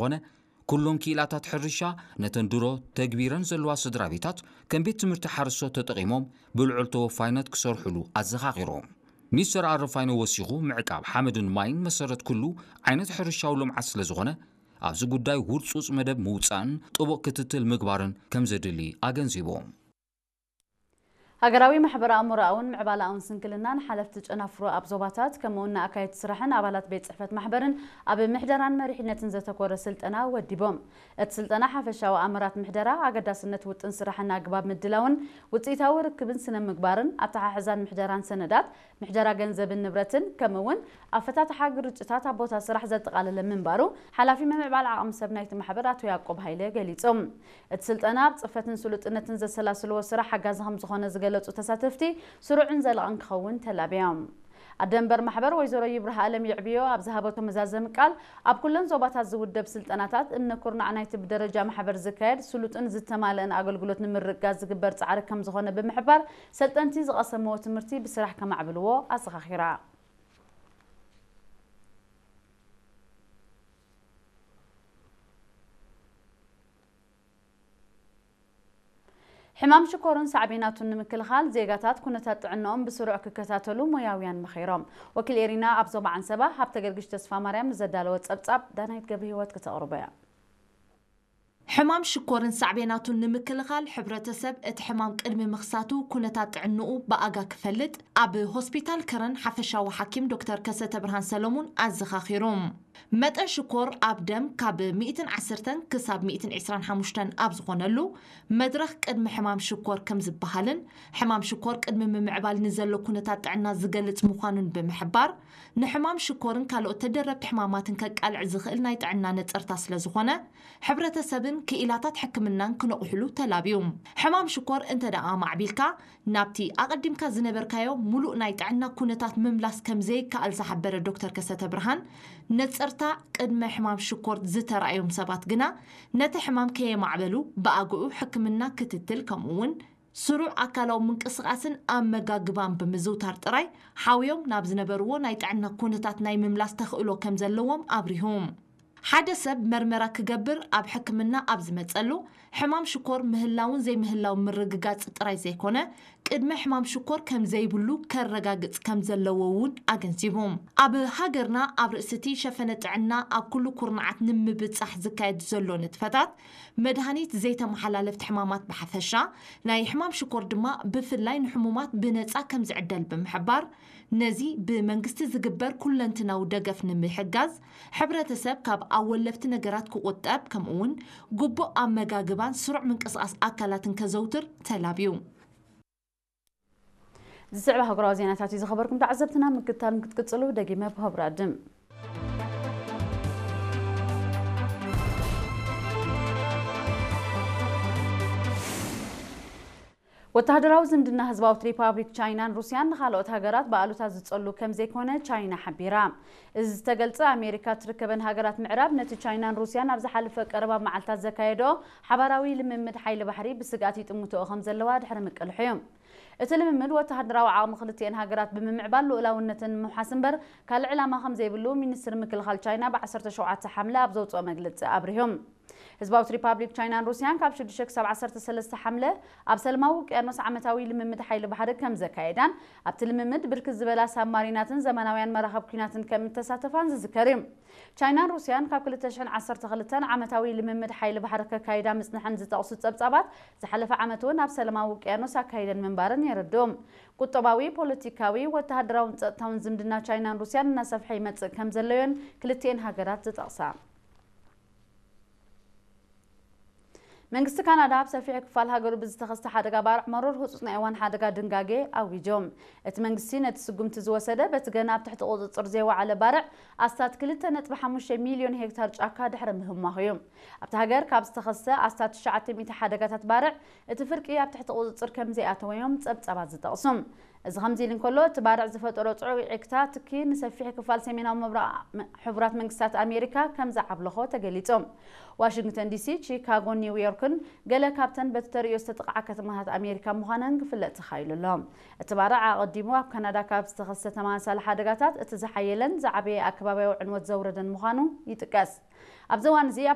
ዝኾነ፣ ኩሎም ክኢላታት ሕርሻ ነተን ድሮ ተግቢረን ዘለዋ ስድራ ቤታት ከም ቤት ትምህርቲ ሓረስቶት ተጠቒሞም ብልዑል ተወፋይነት ክሰርሕሉ ኣዘኻኺሮም። ሚስተር ኣረፋይነ ወሲኹ፣ ምዕቃብ ሓመድን ማይን መሰረት ኩሉ ዓይነት ሕርሻዊ ልምዓት ስለ ዝኾነ፣ ኣብዚ ጉዳይ ውርጹጽ መደብ ምውጻእን ጥቡቕ ክትትል ምግባርን ከም ዘድሊ ኣገንዚቦም። ሃገራዊ ማሕበረ ኣእምሮኣውን ምዕባለኣውን ስንክልናን ሓለፍቲ ጨናፍሮ ኣብ ዞባታት፣ ከምኡውን ንኣካየድቲ ስራሕን ኣባላት ቤት ጽሕፈት ማሕበርን ኣብ ምሕደራን መሪሕነትን ዘተኮረ ስልጠና ወዲቦም። እቲ ስልጠና ሓፈሻዊ ኣምራት ምሕደራ፣ ኣገዳስነት ውጥን ስራሕን ኣግባብ ምድላውን ውጽኢታዊ ርክብን ስነ ምግባርን፣ ኣተሓሕዛን ምሕደራን ሰነዳት፣ ምሕደራ ገንዘብን ንብረትን፣ ከምኡውን ኣፈታትሓ ግርጭታት ኣብ ቦታ ስራሕ ዘጠቓለለ ምንባሩ፣ ሓላፊ ምምዕባል ዓቕሚ ሰብ ናይቲ ማሕበር ኣቶ ያዕቆብ ሃይለ ገሊጾም። እቲ ስልጠና ኣብ ጽፈትን ስሉጥነትን ዘሰላስልዎ ስራሕ ሓጋዚ ከም ዝኾነ ዝገለጹ ተሳተፍቲ፣ ስሩዕን ዘላቕን ክኸውን ተላብዮም። ኣደ መንበር ማሕበር ወይዘሮ ይብርሃ ኣለም ይዕብዮ ኣብ ዝሃበቶ መዛዘሚ ቃል፣ ኣብ ኩለን ዞባታት ዝውደብ ስልጠናታት እምነ ኩርናዕ ናይቲ ብደረጃ ማሕበር ዝካየድ ስሉጥን ዝተማልአን ኣገልግሎት ንምርግጋጽ ዝግበር ጻዕሪ ከም ዝኾነ ብምሕባር፣ ሰልጠንቲ ዝቐሰምዎ ትምህርቲ ብስራሕ ከማዕብልዎ ኣዘኻኺራ። ሕማም ሽኮርን ሳዕቤናቱን ንምክልኻል ዜጋታት ኩነታት ጥዕናኦም ብስሩዕ ክከታተሉ ሞያውያን መኺሮም። ወኪል ኤሪና ኣብ ዞባ ዓንሰባ ሃብተ ገርግሽ ተስፋ ማርያም ንዘዳለወ ጸብጻብ ዳናይት ገብረ ህይወት ክተቕርቦ እያ። ሕማም ሽኮርን ሳዕቤናቱን ንምክልኻል ሕብረተሰብ እቲ ሕማም ቅድሚ ምኽሳቱ ኩነታት ጥዕንኡ ብኣጋ ክፈልጥ ኣብ ሆስፒታል ከረን ሓፈሻዊ ሓኪም ዶክተር ከሰተ ብርሃን ሰለሙን ኣዘኻኺሩ። መጠን ሽኮር ኣብ ደም ካብ ሚእትን ዓሰርተን ክሳብ ሚእትን ዕስራን ሓሙሽተን ኣብ ዝኾነሉ መድረኽ ቅድሚ ሕማም ሽኮር ከም ዝበሃልን ሕማም ሽኮር ቅድሚ ምምዕባል ንዘሎ ኩነታት ጥዕና ዝገልጽ ምዃኑን ብምሕባር፣ ንሕማም ሽኮርን ካልኦት ተደረብቲ ሕማማትን ከቃልዕ ዝኽእል ናይ ጥዕና ነጸርታ ስለ ዝኾነ፣ ሕብረተሰብን ክኢላታት ሕክምናን ክነቑሕሉ ተላብዩ። ሕማም ሽኮር እንተ ደኣ ማዕቢልካ፣ ናብቲ ኣቐዲምካ ዝነበርካዮ ሙሉእ ናይ ጥዕና ኩነታት ምምላስ ከም ዘይከኣል ዝሓበረ ዶክተር ከሰተ ብርሃን፣ ነጸርታ ቅድመ ሕማም ሽኮር ዝተራእዮም ሰባት ግና፣ ነቲ ሕማም ከየማዕበሉ ብኣግኡ ሕክምና ክትትል፣ ከምኡ'ውን ስሩዕ ኣካላዊ ምንቅስቓስን ኣመጋግባን ብምዝውታር ጥራይ ሓውዮም ናብ ዝነበርዎ ናይ ጥዕና ኩነታት ናይ ምምላስ ተኽእሎ ከም ዘለዎም ኣብሪሁ። ሓደ ሰብ መርመራ ክገብር ኣብ ሕክምና ኣብ ዝመጸሉ፣ ሕማም ሽኮር ምህላውን ዘይምህላውን ምርግጋጽ ጥራይ ዘይኮነ፣ ቅድመ ሕማም ሽኮር ከም ዘይብሉ ከረጋግጽ ከም ዘለዎ እውን ኣገንዚቡ። ኣብ ሃገርና ኣብ ርእሲ እቲ ሸፈነ ጥዕና ኣብ ኩሉ ኩርናዓት ንምብጻሕ ዝካየድ ዘሎ ንጥፈታት፣ መድሃኒት ዘይተመሓላለፍቲ ሕማማት ብሓፈሻ፣ ናይ ሕማም ሽኮር ድማ ብፍላይ ንሕሙማት ብነጻ ከም ዝዕደል ብምሕባር፣ ነዚ ብመንግስቲ ዝግበር ኩለንትናዊ ደገፍ ንምሕጋዝ፣ ሕብረተሰብ ካብ ኣወለፍቲ ነገራት ክቑጠብ፣ ከምኡ'ውን ግቡእ ኣመጋግባን ስሩዕ ምንቅስቓስ ኣካላትን ከዘውትር ተላብዩ። ዝስዕብ ኣህጉራዊ ዜናታት እዩ ዝኸበርኩም ተዓዘብትና፣ ምክትታል ክትቅጽሉ ደጊመ ብኸብሪ ኣድም። ወተሃደራዊ ዝምድና ህዝባዊት ሪፓብሊክ ቻይናን ሩስያን ንኻልኦት ሃገራት ብኣሉታ ዝጸሉ ከም ዘይኮነ ቻይና ሓቢራ። እዚ ዝተገልጸ፣ ኣሜሪካ ትርከበን ሃገራት ምዕራብ ነቲ ቻይናን ሩስያን ኣብ ዝሓለፈ ቀረባ መዓልታት ዘካየደኦ ሓባራዊ ልምምድ ሓይሊ ባሕሪ ብስግኣት ይጥምትኦ ከም ዘለዋ ድሕሪ ምቅልሑ እዩ። እቲ ልምምድ ወተሃደራዊ ዓቕሚ ክልቲኤን ሃገራት ብምምዕባል ልኡላውነተን ንምውሓስ እምበር ካልእ ዕላማ ከም ዘይብሉ ሚኒስትሪ ምክልኻል ቻይና ብ ዓሰርተ ሸውዓተ ሓምለ ኣብ ዘውፅኦ መግለፂ ኣብሪሁ። ህዝባዊት ሪፓብሊክ ቻይናን ሩስያን ካብ ሽዱሽተ ክሳብ ዓሰርተ ሰለስተ ሓምለ ኣብ ሰላማዊ ውቅያኖስ ዓመታዊ ልምምድ ሓይሊ ባሕሪ ከም ዘካየዳን ኣብቲ ልምምድ ብርክት ዝበላ ሳብማሪናትን ዘመናውያን መራኸብ ኲናትን ከም እተሳተፋን ዝዝከር እዩ። ቻይናን ሩስያን ካብ ክልተ ሽሕን ዓሰርተ ክልተን ዓመታዊ ልምምድ ሓይሊ ባሕሪ ከካይዳ ምጽንሐን ዝጠቕሱ ጸብጻባት፣ ዝሓለፈ ዓመት እውን ኣብ ሰላማዊ ውቅያኖስ ኣካይደን ምንባረን የረድኡ። ቁጠባዊ፣ ፖለቲካዊ፣ ወተሃደራውን ጸጥታውን ዝምድና ቻይናን ሩስያን እናሰፍሐ ይመጽእ ከም ዘለዮን ክልቲኤን ሃገራት ዝጠቕሳ። መንግስቲ ካናዳ ኣብ ሰፊሕ ክፋል ሃገሩ ብዝተኸስተ ሓደጋ ባርዕ መሮር ህጹጽ ናይ እዋን ሓደጋ ድንጋጌ ኣዊጆ። እቲ መንግስቲ ነቲ ስጉምቲ ዝወሰደ በቲ ገና ኣብ ትሕቲ ቁጽጽር ዘይወዓለ ባርዕ ኣስታት ክልተ ነጥቢ ሓሙሽተ ሚልዮን ሄክታር ጫካ ድሕሪ ምህማኹ እዩ። ኣብቲ ሃገር ካብ ዝተኸስተ ኣስታት ትሽዓተ ሚእቲ ሓደጋታት ባርዕ እቲ ፍርቂ ኣብ ትሕቲ ቁጽጽር ከም ዘይኣተወ እዮም ጸብጻባት ዝጠቕሱ። እዚ ከምዚ ኢሉ እንከሎ፣ እቲ ባርዕ ዝፈጠሮ ጽዑቕ ዕግታ ትኪ ንሰፊሕ ክፋል ሰሜናዊ ምብራቕ ም-፣ ሕቡራት መንግስታት ኣሜሪካ ከም ዝዓብለኾ ተገሊጹ። ዋሽንግተን ዲሲ፣ ቺካጎን ኒውዮርክን ገለ ካብተን በቲ ተርእዮ ዝተጠቕዓ ከተማታት ኣሜሪካ ምዃነን ክፍለጥ ተኻኢሉ ኣሎ። እቲ ባርዕ ኣቐዲሙ ኣብ ካናዳ ካብ ዝተኸስተ ተመሳሳሊ ሓደጋታት እቲ ዝሓየለን ዝዓበየ ኣከባብያዊ ዕንወት ዘውረደን ምዃኑ ይጥቀስ። ኣብዚ እዋን እዚ ኣብ